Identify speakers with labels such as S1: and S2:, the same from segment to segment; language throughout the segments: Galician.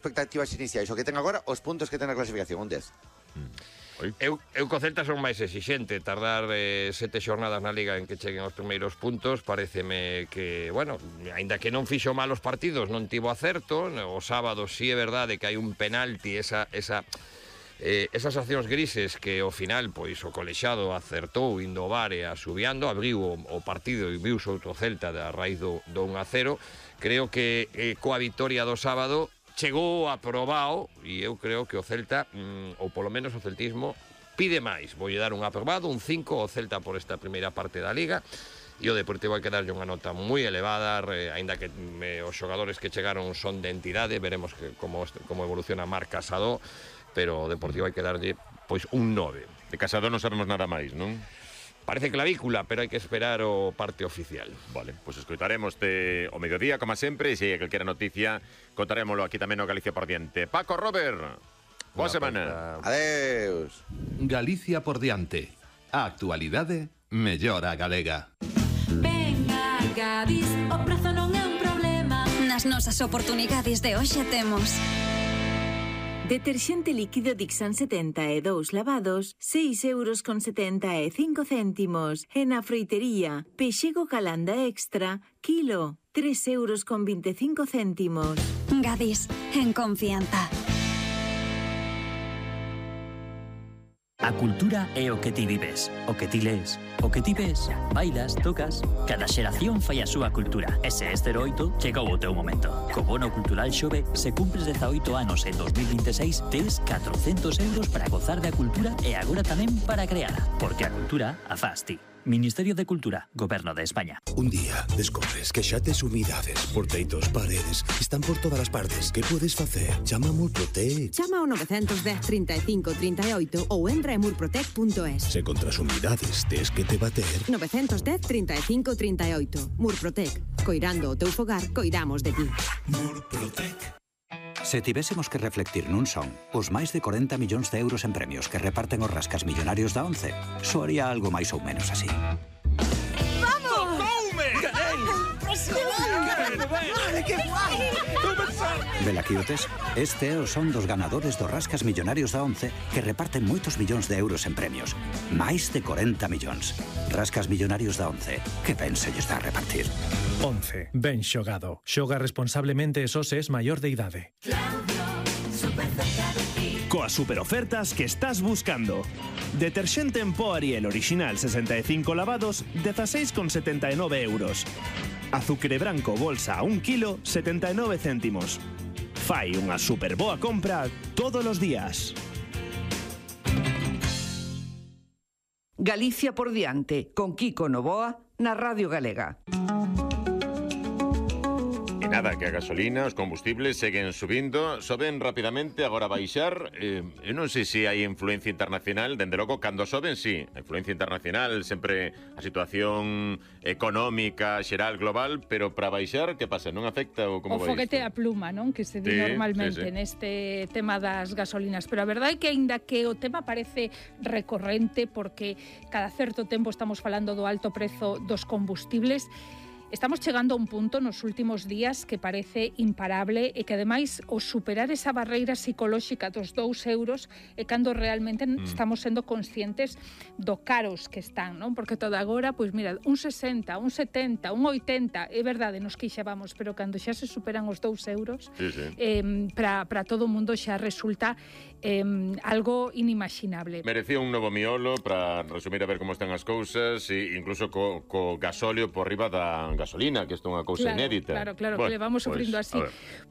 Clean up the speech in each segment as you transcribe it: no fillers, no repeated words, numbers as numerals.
S1: expectativas iniciais, o que ten agora, os puntos que ten a clasificación, un 10.
S2: Eu co Celta son máis exixente. Tardar 7 xornadas na Liga en que cheguen os primeiros puntos pareceme que, bueno, aínda que non fixo malos partidos, non tivo acerto. O sábado sí é verdade que hai un penalti, esas accións grises que ao final pois o colexado acertou indo ao VAR e asubiando, abriu o partido e viu outro Celta a raíz do 1-0. Creo que coa vitoria do sábado chegou aprobado e eu creo que o Celta, ou polo menos o celtismo, pide máis. Voulle dar un aprobado, un 5 ao Celta por esta primeira parte da Liga, e o Deportivo hai que darlle unha nota moi elevada, aínda que os xogadores que chegaron son de entidade. Veremos como evoluciona Marc Casado, pero o Deportivo hai que darlle pois un 9.
S3: De Casado non sabemos nada máis, non?
S2: Parece clavícula, pero hai que esperar o parte oficial.
S3: Vale, pois escoitaremos o mediodía, como sempre, e se hai calquera noticia, contarémoslo aquí tamén no Galicia por diante. Paco, Robert, boa semana.
S1: Adeus.
S4: Galicia por diante. A actualidade mellora galega.
S5: Venga, Gadis, o prazo non é un problema. Nas nosas oportunidades de hoxe temos
S6: deterxente líquido Dixan 72 lavados, 6,75 €. E na froitería, pexego Calanda Extra, kilo, 3,25 €.
S5: Gadis, en confianza.
S7: A cultura é o que ti vives, o que ti lees, o que ti ves, bailas, tocas. Cada xeración fai a súa cultura. E se este 08, chegou o teu momento. Co bono cultural Xove, se cumpres 18 anos en 2026, tes 400 € para gozar da cultura e agora tamén para creala. Porque a cultura a fas ti. Ministerio de Cultura, Goberno de España.
S8: Un día descobres que xa tes humidades por teitos, paredes, están por todas as partes. Que podes facer? Chama a Murprotec.
S9: Chama ao 910 35 38 ou entra en murprotec.es.
S8: Se contra as humidades tes que te bater.
S9: 910 35 38. Murprotec. Coirando o teu fogar, coidamos de ti.
S8: Murprotec.
S10: Se tivésemos que reflectir nun son os máis de 40 millóns de euros en premios que reparten os rascas millonarios da ONCE, soaría algo máis ou menos así.
S5: ¡Vamos!
S2: ¡Tocoume!
S5: ¡Impresionante!
S9: ¡Vale, qué guai!
S10: Velaquiotes, este é o son dos ganadores dos rascas millonarios da ONCE que reparten moitos millóns de euros en premios. Máis de 40 millóns. Rascas millonarios da ONCE. Que ben se lles dá a repartir.
S11: ONCE. Ben xogado. Xoga responsablemente e só se es maior de idade.
S12: Coas superofertas que estás buscando. Deterxente en pó Ariel original 65 lavados, 16,79 €. Azucre branco bolsa a 1 kilo, 79 céntimos. Fai unha super boa compra todos os días.
S13: Galicia por diante, con Kiko Novoa, na Radio Galega.
S3: Nada, que a gasolina, os combustibles seguen subindo, soben rapidamente, agora baixar. Eu non sei se hai influencia internacional, dende logo, cando soben, sí. A influencia internacional, sempre a situación económica, xeral, global, pero para baixar, que pasa? Non afecta ou como vai?
S14: O foguete a pluma, non? Que se di normalmente neste tema das gasolinas. Pero a verdade é que, aínda que o tema parece recorrente, porque cada certo tempo estamos falando do alto prezo dos combustibles, estamos chegando a un punto nos últimos días que parece imparable e que, ademais, o superar esa barreira psicolóxica dos 2 € é cando realmente estamos sendo conscientes do caros que están, non? Porque todo agora, pois mira, un 60, un 70, un 80, é verdade, nos queixábamos, pero cando xa se superan os 2 €, para todo o mundo xa resulta algo inimaginable.
S3: Merecía un novo miolo para resumir a ver como están as cousas, e incluso co gasóleo por riba da gasolina, que isto é unha cousa inédita.
S14: Claro, bueno, que levamos sufrindo así.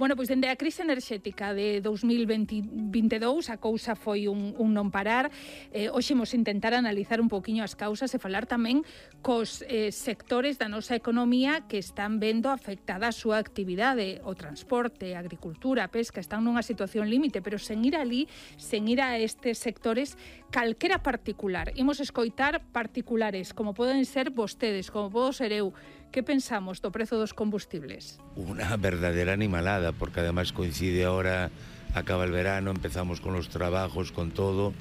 S14: Bueno, pois dende a crise enerxética de 2022 a cousa foi un non parar. Hoxe imos intentar analizar un poquinho as causas e falar tamén cos sectores da nosa economía que están vendo afectada a súa actividade, o transporte, a agricultura, a pesca, están nunha situación límite, pero sen ir ali, sen ir a estes sectores, calquera particular. Imos escoitar particulares, como poden ser vostedes, como podo ser eu. Que pensamos do prezo dos combustibles?
S15: Una verdadera animalada, porque además coincide ahora, acaba el verano, empezamos con los trabajos, con todo,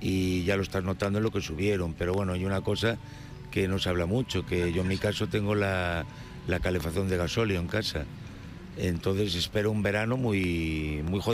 S15: y ya lo estás notando en lo que subieron. Pero bueno, hay una cosa que no se habla mucho, que yo en mi caso tengo la calefacción de gasóleo en casa. Entonces espero un verano muy jodido.